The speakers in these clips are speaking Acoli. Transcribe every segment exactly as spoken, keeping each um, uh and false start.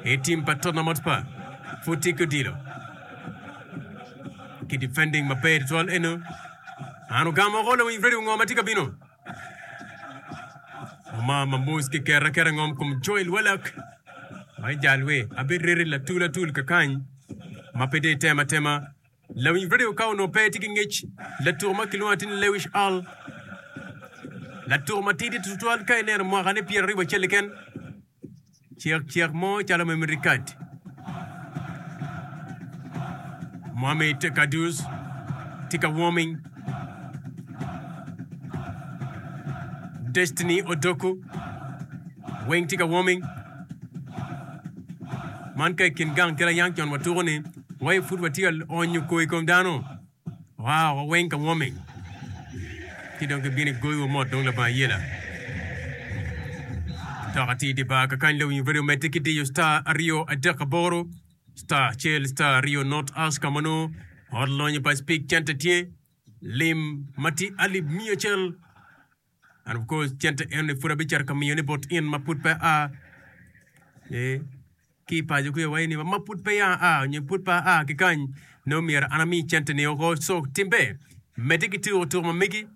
I tim pa Tottenham Hotspur pud tye ki odilo ki defending maber tutwal eno. An ogamo oko lawiny Freddy ngo ma tye ka bino. Omar Mamus kiketo aketa ngom kom Joel Wallak ma ijal we abireti latul atul kakany ma pe dong itemo atema. Lawiny Freddy ka onongo pe tye ki ngec latuko ma kilwongo atir ni Lewis Hall latuko matidi tutwal ka ineno mwakane pyeraryo acel keken. Cek cek mo calo memory card. Mohamed Kudus tye ka warming. Destiny Odoko weng tye ka warming. Man ka i kin gang kit ayang con watuko ni wai pud watye ka onyo kor i kom dano. Waa wa weng ka warming ci dong gibino igoyo wa mot dong labongo ayela. Toka tye i dye bar kakany lawiny radio medde ki diyo star aryo adek aboro star acel star aryo not us ka ma nongo ot lonyo pa Speke cente tye lim ma tye alip miya acel and of course cente enoni pud abicito ka miyone bot in ma pud pe a ee. Ki i paco kwica waci ni ma pud peya aa nyo pud pe aa ki kany nongo myero an ami cente-ni oko. Co timbe medde ki tuko tuko ma megi.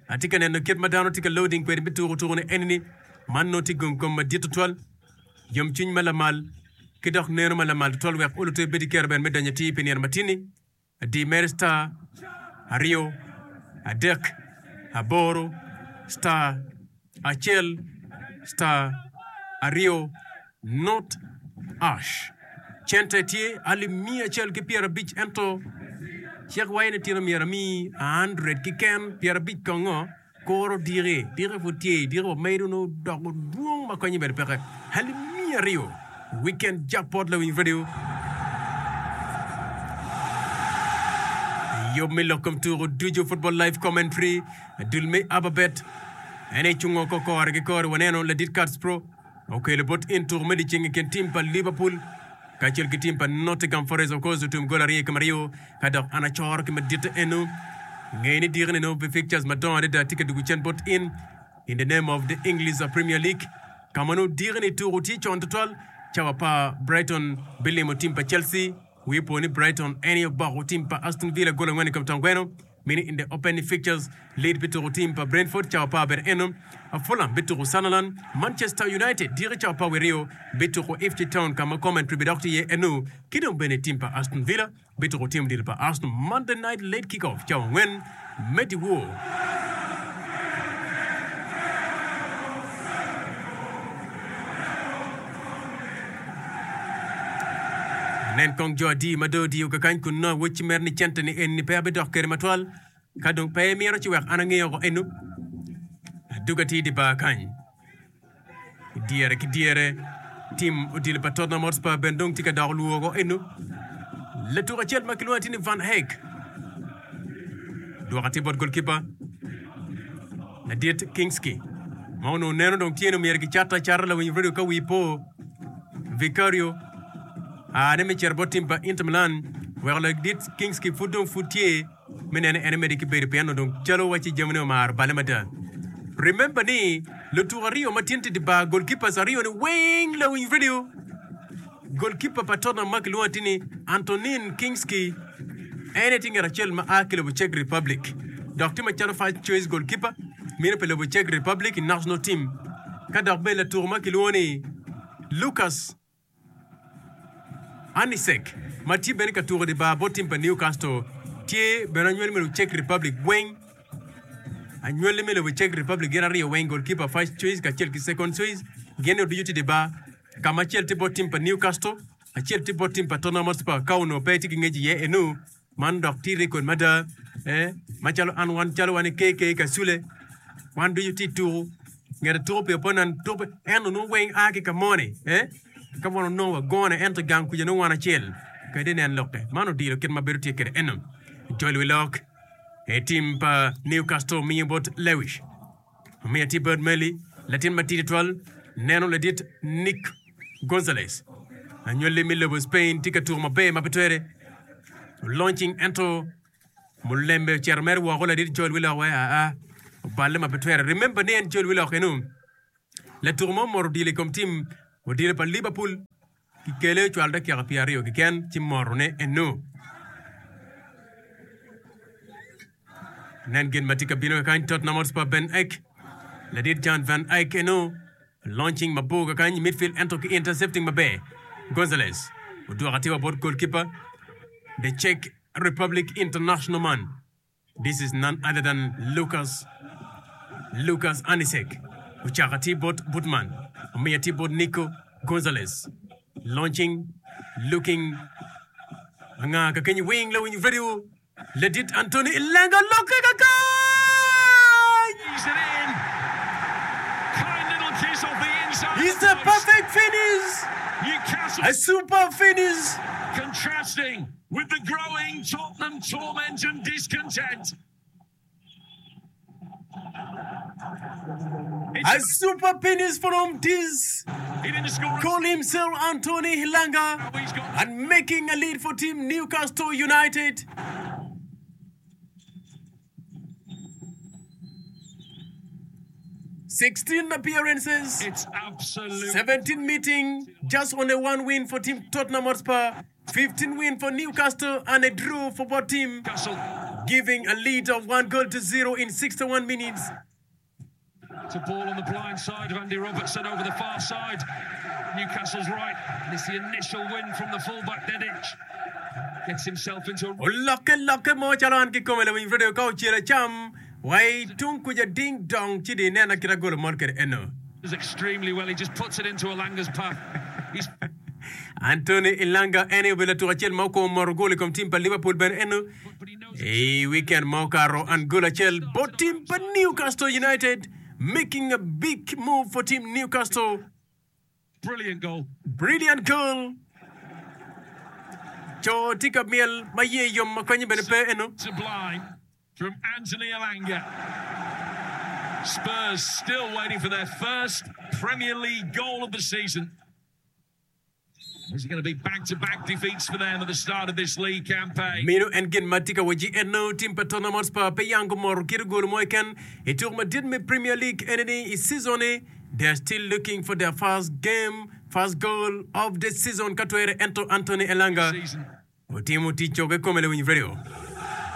Atye ka neno kit ma dano tye ka loading kwede me tuko tuko-ni eni-ni. Man nongo tye gom kom madit tutwal, yomcwiny ma lamal, ki dok neno ma lamal tutwal wek oluto ebed ki kero bene me donyo atir pi nino matin-ni. Di mere star aryo adek aboro star acel star aryo not ash. Cente tye alip miya acel ki pyerabic ento cik waco ni tino myero ami a hundred keken pyerabic kongo. Koro diki, diki pud tye, diki wa medo nongo doko dwong ma konye bene peke. Alip miya aryo, Weekend Jackpot Lawiny Radio. Yub me lok kom tuko ducu Football Live Commentary, dul me Ababet en aye cungo oko kore ki kore. Waneno ladit Cats Pro okelo bot in tuko me dyeceng i kin tim pa Liverpool kacel ki tim pa Nottingham Forest of course otum gol aryo i kom aryo ka dok an acoro ki maditte eno. Nge ni diki-ni nongo pi fixtures madongo adada tye ka dugo cen bot in in the name of the English Premier League ka ma nongo diki-ni tuko tye con tutwal cawa apar Brighton bilimo tim pa Chelsea. Wi opo ni Brighton en aye oboko tim pa Aston Villa gol angwen i kom tong gweno. Mini in the opening fixtures, Leeds bituko tim pa Brentford cawa apar bene eno, Fulham bituko Sunderland, Manchester United diki cawa apar wiye aryo bituko Ipswich Town ka ma Coventry bidok tye iye eno, ki dong bene tim pa Aston Villa bituko tim odilo pa Arsenal Monday night late kick off cawa angwen me dyewor. Nen kong jo adi ma dong odiyo kakany kun nongo awocci mere ni cente ni eni pe abidok kwede matwal. Ka dong pe imito ci wek an ange oko eno. Aduga tye i dye bar kany. I dyere ki dyere, tim odilo pa Tottenham Hotspur bene dong tye ka doko lwor oko eno. Latuk acel ma kilwongo atir ni Van Hecke dwoko atir bot golkipa ladit Kingsley ma onongo neno dong tye ni myero kicat acata lawiny radio ka wi po Vicario aa ni me cito bot tim pa Inter Milan weko ladit Kingsley pud dong pud tye me neno en emedde ki bedo pien onongo dong calo wacci jamine omaro balle mada. Remember ni lutuko aryo ma tyen tye i bar goalkeepers aryo ni weng lawiny radio. Goalkeeper pa Tottenham ma kilwongo atir ni Antonin Kinsky en aye tye ngat acel ma a ki lobo Czech Republic dok tye macalo first choice goalkeeper meno pi lobo Czech Republic i national team ka dok bene latuko ma kilwongo ni Lukas Anicek ma tye bene ka tuko i dye bar bot tim pa Newcastle tye bene anywali me lobo Czech Republic weng. Anywali me lobo Czech Republic gin aryo weng goalkeeper first choice kacel ki second choice gin ducu tye i dye bar ka ma acel tye bot tim pa Newcastle acel tye bot tim pa Tottenham Hotspur ka onongo pe tye ki ngec iye enu Man dok tye rekod mada eh, macalo an wan calo wan i K K Kasule wan ducu tye i tuku ngete tuku pi opponent tuku pi en onongo weng a ki ka moni eh, ka wan onongo wagone ento gang kuca nongo wan acel kadi inen lokke man odilo kit ma bedo tye kwede eno jol wi lok i tim pa Newcastle miyo bot Lewis omiyo tye bot Meli latin matidi twal neno ladit Nick Gonzalez anywali me lobo Spain tye ka tuko maber ma pe twere launching ento mulembe ocito mere woko ladit Joel Willock wai aa oballe ma pe twere remember ni en Joel Willock eno latuko mo omoto odilo i kom tim odilo pa Liverpool Kikele ocwalo dakika pyera aryo keken ci morone eno. Nen gin ma tye ka bino kakany Tottenham Hotspur Ben Eyck ladit Jan van Eyck eno launching mabor kakany i midfield ento ki intercepting maber Gonzalez odwoko atir bot goalkeeper the Czech Republic international man this is none other than Lucas Lucas Anisek ocako atir bot Botman omiyo atir bot Nico Gonzalez launching looking anga kakenyo wing lawiny radio Ladit Anthony Elanga lokke kakany! He's it in. Kind little kiss off the inside. It's a perfect finish! Newcastle A super finish! contrasting with the growing Tottenham torment and discontent. A It's super finish from this he didn't score. call himself Anthony Elanga He's got and making a lead for team Newcastle United. Sixteen appearances, it's absolute seventeen meeting, just only one win for team Tottenham Hotspur, fifteen win for Newcastle, and a draw for both team, Newcastle. giving a lead of one goal to zero in sixty-one minutes. It's a ball on the blind side of Andy Robertson over the far side. Newcastle's right. And it's the initial win from the fullback Dedic. Gets himself into a Olokke lokke mo calo an kikome lawiny radio ka ocelo acam wai tung kuca ding dong ci di inena kit agolo mol kwede eno. does extremely well. He just puts it into Elanga's path. He's Anthony Elanga en obedo latuk acel ma okwongo moro gol i kom tim pa Liverpool bene eno but he knows i weekend ma okato an gol acel bot tim pa Newcastle United making a big move for team Newcastle. brilliant goal. Brilliant goal. Co tye ka myel ma ye yom ma konye bene pe eno. Sublime from Anthony Elanga. Spurs still waiting for their first Premier League goal of the season. Is it going to be back-to-back defeats for them at the start of this league campaign? Meno en gin ma tye ka wacci eno tim pa Tottenham Hotspur pe yang gumoro kit gol mo keken i tuko madit me Premier League enini i season ni they are still looking for their first game first goal of the season ka twere ento Anthony Elanga Season. otimo tic coge kome lawiny radio.